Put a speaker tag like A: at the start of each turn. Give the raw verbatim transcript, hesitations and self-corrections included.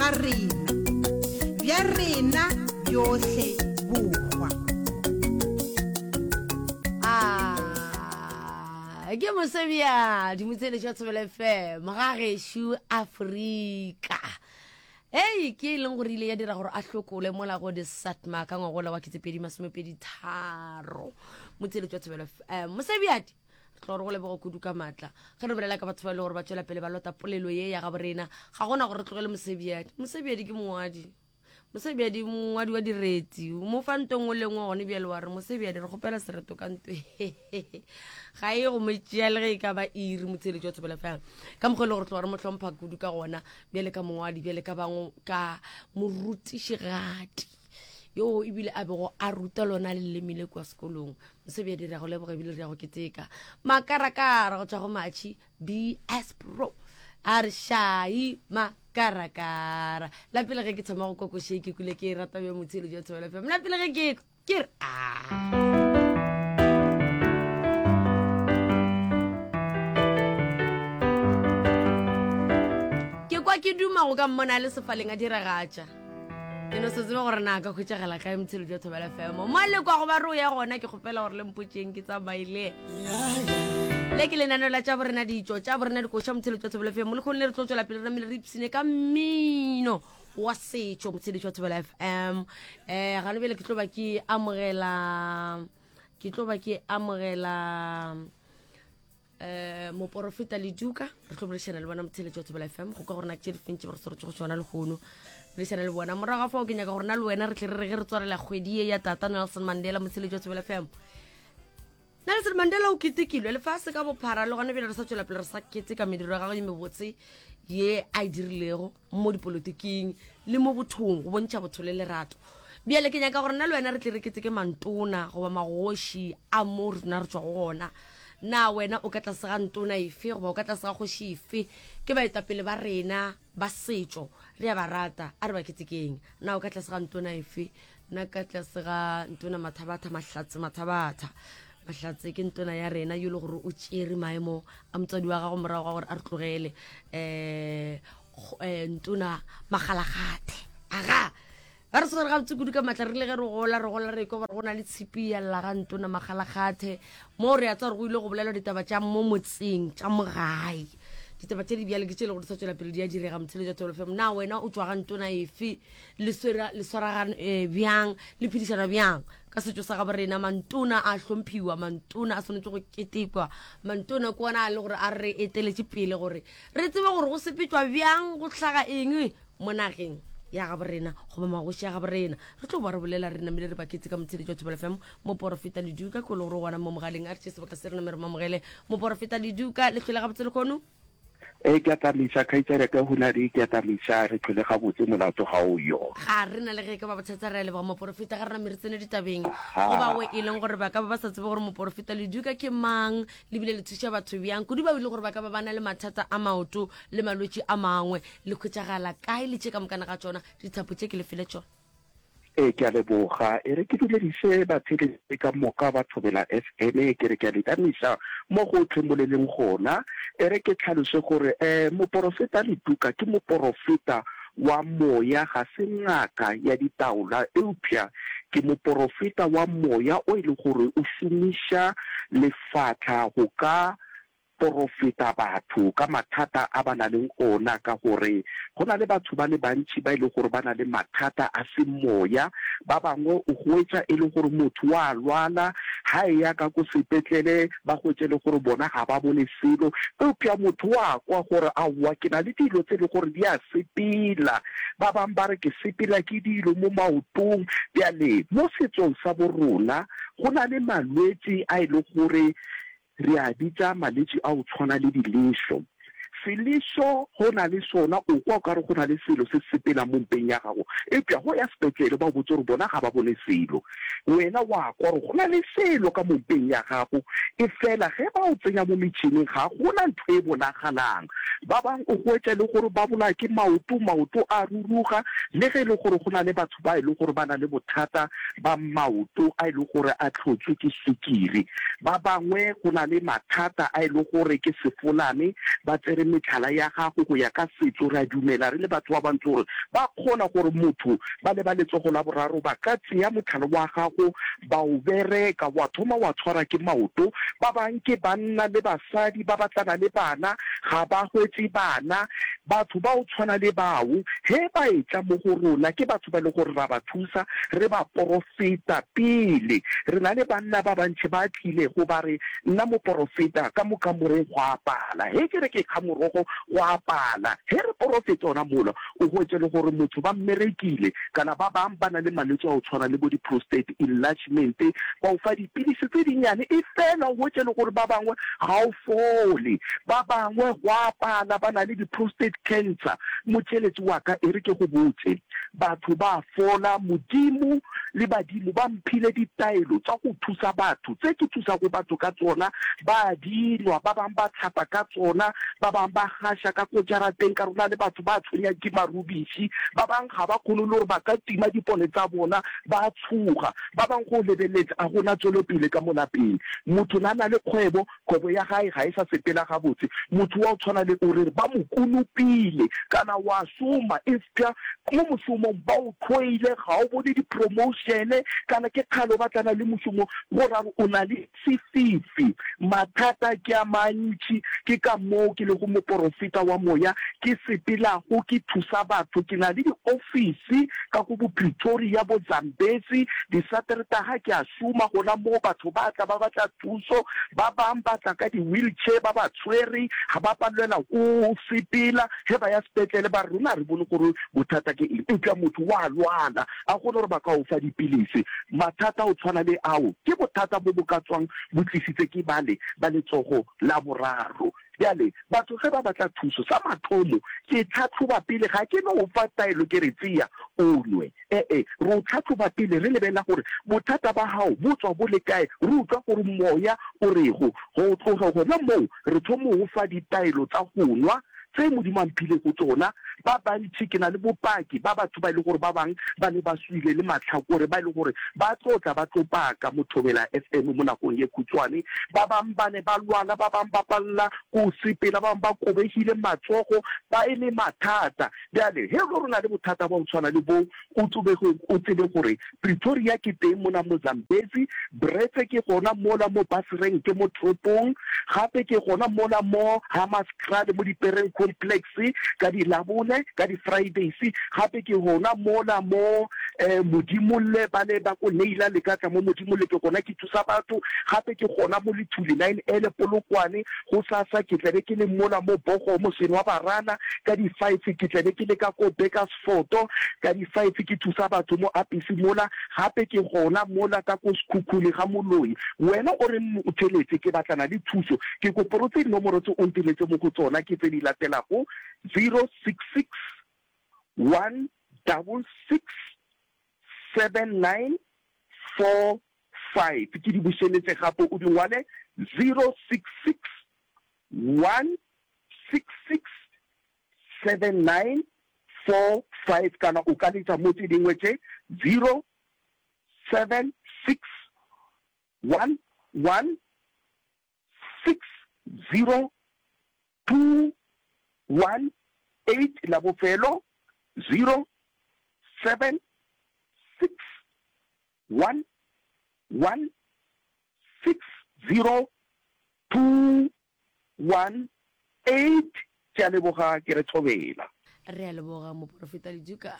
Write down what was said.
A: ga rena, bja rena bjohle bohwa.
B: Ah, ke mosebja dimotseletšo ya Thobela F M ga gešo Afrika. Ei, ke e leng gore ile ya dira gore a hlokole mola go di satma ka ngwagola wa ketepedi masomepedi tharo. Motseletšo wa Thobela F M, mosebjadi, re tlo gore go leboga kudu ka maatla ge re bolela ka batho ba e le gore ba tšwela pele ba lota polelo ye ya gabo rena. Ga gona gore re tlogele mosebjadi. Mosebjadi ke mongwadi, mosebjadi mongwadi wa direti. Mo fa nto nngwe le nngwe gone bjale wa re mosebjadi re kgopela sereto ka nto, ga e go mo tšea le ge e ka ba iri. Motsheletši wa Thobela Fela ka mokgwa e le gore tloga re mo hlompha kudu ka gona, bjale ka mongwadi, bjale ka bangwe ka morutišigadi yo ebile a bego a ruta lona leleme le kua sekolong. Mosebjadi, re ya go leboga ebile re ya go keteka. Makarakara go tšwa go Matšhi B S Pro a re šai makarakara. La pele ge ke thoma go kokoše ke kule ke e rata bja motsheletši wa Thobela F M. La pele ge ke ke re a ke kwa ke duma go ka mmona a le sefaleng a diragatša. Ke no se tsebe gore na ka hwetšagala kae. Motsheletši wa Thobela F M, mo le kwa go ba re o ya gona, ke kgopela gore le mpotseng ke tsamaile. Le ke lenaneo la tša borena ditšo, tša borena dikoša. Motsheletši wa Thobela F M, le kgone le re tlo tswela pele re namile re ipsene ka mmino wa setšo. Motsheletši wa Thobela F M, um gane bjale ke tlo ba ke amogela ke tlo ba ke amogela um moporofeta Leduka. Re tlo boledišana le bona, motheletši wa Thobela F M, go ka gore na ke tše di fentše ba re swaretse go tšona lehono. Boledišana le bona morago ga fao. Ke nyaka gore na le wena re tle re re ge re tswarela kgwedi ye ya tata Nelson Mandela. Motheletši wa Thobela F M, Nelson Mandela o ketekilwe lefase ka bophara, le gona bjale re sa tswela pele re sa keteka mediro ya gagwe ye mebotse ye a e dirilego mo dipolotiking le mo bothong, go bontšha botho le lerato. Bjale ke nyaka gore nna le wena re tle re keteke mantona goba magoši a mo rena re tšwago gona. Na wena o ka tlase ga ntona efe goba o ka tlase ga kgoši efe? Ke baetapele ba rena ba setšo, re a ba rata, a re ba ketekeng. Na o ka tlase ga ntona efe? Nna ka tlase ga ntona Mathabatha Mahlatse. Mathabatha Mahlatse ke ntona ya rena yo e le gore o tšere maemo a motswadi wa gago morago ga gore a re tlogele, um ntona Magalagate. Aga ba re tshwere gabotse kudu ka maatla. Re le ge re gola re gola re kwa gore go na le tshipi ya lla ga ntona Magalagate, mo re ya tsa gore go ile go bolelwa ditaba tša mo motseng, tša mogae. Ditaba tše di bjale ke tše le gore di sa tswela pele di a direga. Motshelo jwa Thobela F M, na wena o tšwa ga ntona efe? Le swaragane eh, bjang? Le phedišana bjang ka setšo sa gabo rena? Mantona a hlomphiwa, mantona a swanetše go ketekwa. Mantona ke ona a le gore a re eteletše pele gore re tsebe gore go sepetšwa bjang, go hlaga eng mo nageng ya gabo rena goba magoši ya gabo rena. Re tlo ba re bolela re namile re baketse ka motsheletši wa Thobela F M, moporofeta Leduka ko le gore gona mo mogaleng. A re tše sebaka se re name re mamogele moporofeta Leduka. Le tlhole gabotse lekgono.
C: E ke atamisa kgaitsadi ka hunadi, ke atamisa, re tlhole gabotse, molato ga o yo.
B: Ga re na le ge ka ba bothata. Re a leboga moporofeta. Ga re name re tsene ditabeng, go bawe e leng gore ba ka ba ba sa tsebe gore moporofeta Leduka ke mang, lebile le thuša batho bjang, kudu ba ile gore ba ka ba ba na le mathata a maoto le malwetši a mangwe, le khwetšagala kae le tše ka mokana ga tšona? Dithapo tše ke le fele tšona.
C: E ke a leboga. E re ke dumedise batheeletši ka moka ba Thobela F M, ke re ke a le tamisa mo gohle mo le leng gona. E re ke tlhalose gore um moporofeta Letuka ke moporofeta wa moya, ga se ngaka ya ditaola, eupša ke moporofeta wa moya o e le gore o šomiša lefatla go ka porofeta batho ka mathata a ba na leng ona, ka gore go na le batho ba le bantši ba e le gore ba na le mathata a semoya. Ba bangwe o hwetša e le gore motho wa lwala, ha e ya ka ko sepetlele ba hwetše le gore bona ga ba bone selo, eupša motho wa kwa gore aowa, ke na le dilo tse e le gore di a sepela. Ba bangwe ba re ke sepela ke dilo mo maotong. Bjale mo setsong sa borona go na le malwetši a e le gore re a bitša malwetši a go tshwana le dilešo. Selešo go na le sona, o kwa o ka re go na le selo se sepelang mo mpeng ya gago, eupša go ya sepetlele ba o botse gore bona ga ba bone selo. Wena wa kwa gore go na le selo ka mo mpeng ya gago, e fela ge ba o tsenya mo metšhineng ga gona ntho e bonagalang. Ba bangwe o hwetša le gore ba bolaya ke maoto, maoto a ruruga, le ge e le gore go na le batho ba e le gore ba na le bothata ba maoto a e le gore a tlhotswe ke swikiri. Ba bangwe go na le mathata a e le gore ke sefolane, ba tsere metlhala ya gago go ya ka setso. Re a dumela re le batho ba bantsho gore ba kgona gore motho ba le ba letsogo la boraro ba ka tseya motlhala wa gago ba o bereka, wa thoma wa tshwara ke maoto. Ba bang ke banna le basadi ba batlana le bana, ga ba hwetše bana. Batho ba o tshwana le bao ge ba etla mo go rona ke batho ba e le gore ra ba thusa, re ba porofeta pele. Re na le banna ba bantši ba tlilego ba re, Nna moporofeta, ka mo kamoreng go a pala. Ge ke re ke kga morogo, go a pala. Ge re porofeta ona mola, o hwetše le gore motho ba mmerekile, kana ba bang ba na le malwetši a go tshwana le bo di-prostate enlargement, ba o fa dipilisi tse dinnyane, efela o hwetše le gore ba bangwe ga o fole. Ba bangwe go a pala, ba na le di-prostate cancer. Motšeletši wa ka, e re ke go botše, batho ba a fola. Modimo le badimo ba mphile ditaelo tša go thusa batho, tše ke thusago batho ka tsona, ba a di nwa, ba bang ba hlapa ka tsona, ba bang ba gaša ka ko jarateng, ka rona le batho ba tshwenyang ke marubiši, ba bang ga ba kgone le gore ba ka tima dipone tsa bona, ba a tshoga, ba bang go lebeletše a gona tšwelopele ka mo lapeng. Motho na na le kgwebo, kgwebo ya gae ga e sa sepela gabotse. Motho wa go tshwana le o re ba mo konopile, kana wa šoma eupša mo mošomong ba o hloile, ga o bone di-promotion, kana ke kgale o batlana le mošomo, go ra gore o na le sefifi. Mathata ke a mantši, ke ka moo ke lego moporofeta wa moya, ke sepelago ke thusa batho. Ke na le diofisi ka ko bo Pretoria, bo Zambezi, Disateretaga ke a šoma gona moo, batho ba tla ba batla thuso, ba bang ba tla ka di-wheelchair ba ba tshwere, ga ba palelwa ko sepela, ge ba ya sepetlele ba re rona ga re bone gore bothata ke eng, eupša motho wa lwala, a kgone gore ba ka o fa dipilisi. Mathata a go tshwana le ao ke bothata bo bo ka tswang bo tlisitse ke bale ba letsogo la boraro. Bjale, batho ge ba batla thuso, sa mathomo ke tlhahloba pele, ga ke no o fa taelo ke re tsea o nwe. E-e, re o tlhahloba pele re lebelela gore bothata ba gago bo tswa bo le kae, re utlwa gore moya o rego. Go tloga gona moo re thomo go fa ditaelo tsa go nwa tse Modimo a mphilego tšona. Ba bantši, ke na le bopaki ba batho ba e le gore ba bang ba ne ba swile le mahlakore, ba e le gore ba tlo tla ba tlo paka mo Thobela F M mo nakong ye khutshwane. Ba bang ba ne ba lwala, ba bang ba palela ke go sepela, ba bang ba kobegile matsogo, ba e le mathata. Bjale, ge e le gore o na le bothata bwa go tshwana le boo, o tsebe, o tsebe gore Pretoria ke teng mona mo Zambezi, Bretse ke gona mola mo bus rank mo toropong, gape ke gona mola mo Hammanskraal mo dipereng complex ka di Labone, ka di Fridays, gape ke gona mola mo Modimolle, bale ba ko Neila le ka tla mo Modimolle ke gona ke thusa batho, gape ke gona mo Lethuli nine ele Polokwane, gosasa ke tlabe ke le mola mo Bogomo Senwabarana ka di five ke tlabe ke le ka ko Burgersfort. Foto, ka di five ke thusa batho mo Apisi mola, gape ke gona mola ka ko Sekhukhune ga Moloi. Wena o reng o theletše? Ke batlana le thuso. Ke koporotse dinomoro tse o nteletše mo go tsona ke tse di latelago, zero six six one double six seven nine four five. Ke di bušeletše gape o di ngwale, zero six six one six six seven nine four five kana o ka letša mo tše dingwe tše zero seven six one one six zero two one eight la bofelo zero seven six one one six zero two one eight Ke a leboga, ke re thobela.
B: Re a leboga, Moporofeta Leduka.